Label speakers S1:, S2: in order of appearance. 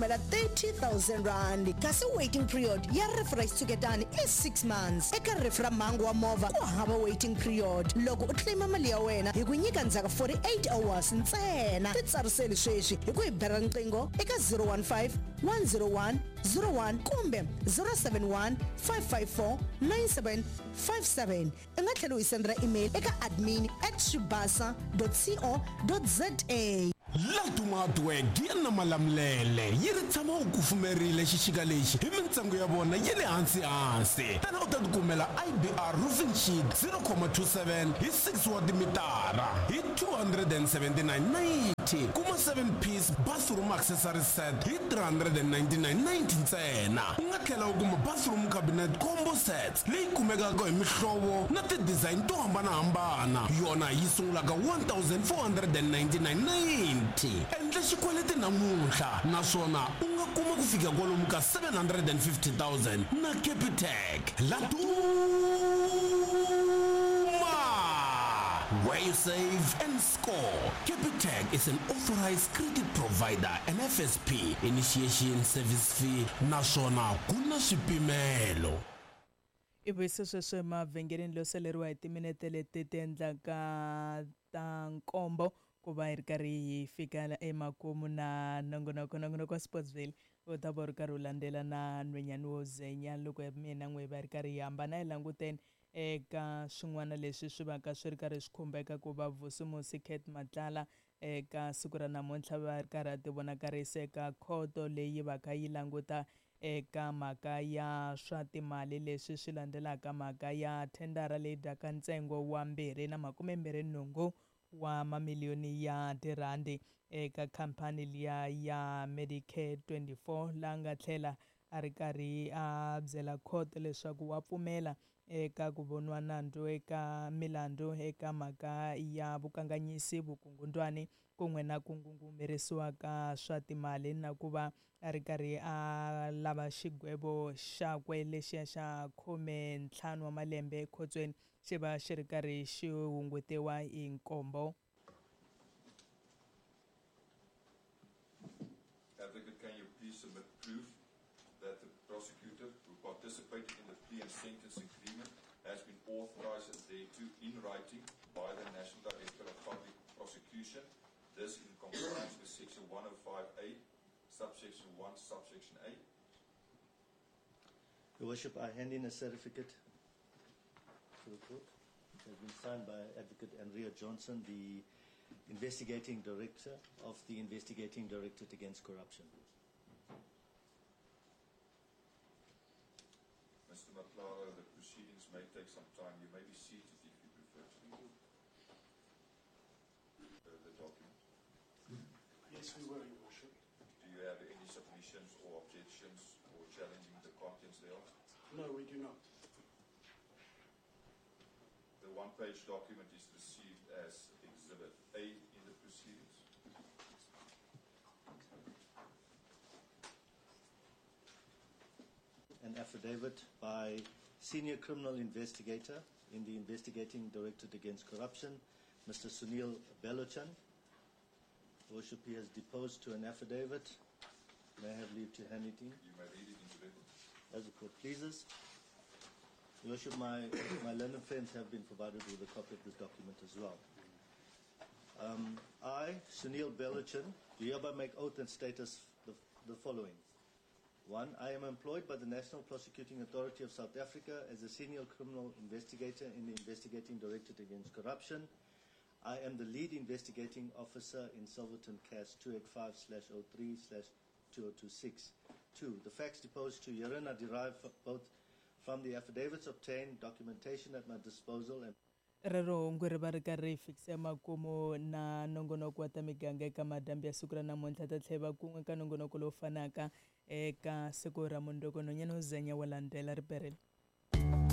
S1: Kumela R30,000 kasi waiting period ya rifu ra xitshuketani i 6 months. Eka rifu ra mhangu wa movha ku hava waiting period. Loko u claim mali ya wena hi ku nyika ndzhaku 48 hours ntsena. Titsariseli sweswi hi ku hi bela riqingho eka 015 101 01 kumbe 071 554 9757. U nga tlhela u hi sendela email eka admin at swibasa dot co dot za.
S2: Laduma Hardware Gear na Malamulele yi ri tshama u kufumerile xixika lexi hi mintsengo ya vona ya le hansi-hansi. Tana u ta tikumela IBR Roofing Sheet 0,27 hi 6 wa timitara hi 279.90. Kuma 7 piece bathroom accessory set hi 399.90 ntsena. U nga tlhela u kuma bathroom cabinet combo sets leyi kumekaka hi mihlovo na ti-design to hambana-hambana, yona yi sungulaka 1499.90. Endla xikweleti namuntlha naswona u nga kuma ku fika kwalomu ka 750,000 na Capitec. Laduma! Where you save and score. Capitec is an authorized credit provider and FSP initiation service fee naswona ku na swipimelo.
S3: I vuyise sweswo emavhengeleni lo saleriwa hi timinete leti ti endlaka ta nkombo ku va hi ri karhi hi fika emakumu na nongonoko. Nongonoko wa Sportsville u ta va u ri karhi u landzela na nhwenyani wo zenya loko mina n'we hi va hi ri karhi hi hambana hi languteni eka swin'wana leswi swi vaka swi ri karhi swi khumbeka ku va Vusimusi Cat Matlala eka siku ra namuntlha va ri karhi a ti vonakarisa eka khoto leyi vaka yi languta eka mhaka ya swa timali leswi swi landzelaka mhaka ya thendara leyi dyaka ntsengo wa 228 wa mamiliyoni ya tirhandi eka khampani liya ya Medicare 24 la nga tlhela a ri karhi a byela khoto leswaku wa pfumela eka ku voniwa nandzu eka milandzu eka mhaka ya vukanganyisi, vukungundwani kun'we na ku ngungumerisiwa ka swa timali na ku va a ri karhi a lava xigwevo xakwe lexiya xa 15 wa malembe ekhotsweni xi va xi ri karhi xi hungutiwa hi nkombo.
S4: Advocate, can you please submit proof that the prosecutor who participated in the plea and sentence agreement has been authorized and thereto in writing by the National Director of Public Prosecution, this in compliance with section 105A, subsection 1, subsection A?
S5: Your Worship, I hand in a certificate to the court. It has been signed by Advocate Andrea Johnson, the investigating director of the Investigating Directorate Against Corruption.
S4: Mr. Matlala, the proceedings may take some time. You may be seated if you prefer to be. The document.
S6: Yes, we were, Your Worship.
S4: Do you have any submissions or objections or challenging the contents thereof?
S6: No, we do not.
S4: The one-page document is received as Exhibit A in the proceedings.
S5: An affidavit by Senior Criminal Investigator in the Investigating Directorate Against Corruption, Mr. Sunil Belochan. Worship, he has deposed to an affidavit. May I have leave to hand it in?
S4: You may read it into record.
S5: As the court pleases. Your Worship, my learned friends have been provided with a copy of this document as well. I, Sunil Belochan, do hereby make oath and state as the following. 1, I am employed by the National Prosecuting Authority of South Africa as a senior criminal investigator in the Investigating Directorate Against Corruption. I am the lead investigating officer in Silverton CAS 285/03/2026. 2, the facts deposed to herein are derived both from the affidavits obtained, documentation at my disposal, and
S3: Rero hungu ri va ri karhi ri fikisa emakumu na nongonoko wa ta miganga eka madyambu ya siku ra namuntlha. Ta tlhela va kun'we ka nongonoko lowu fanaka eka siku ra mundzuku. Nhwanyana wo zenya wa landzela riperile.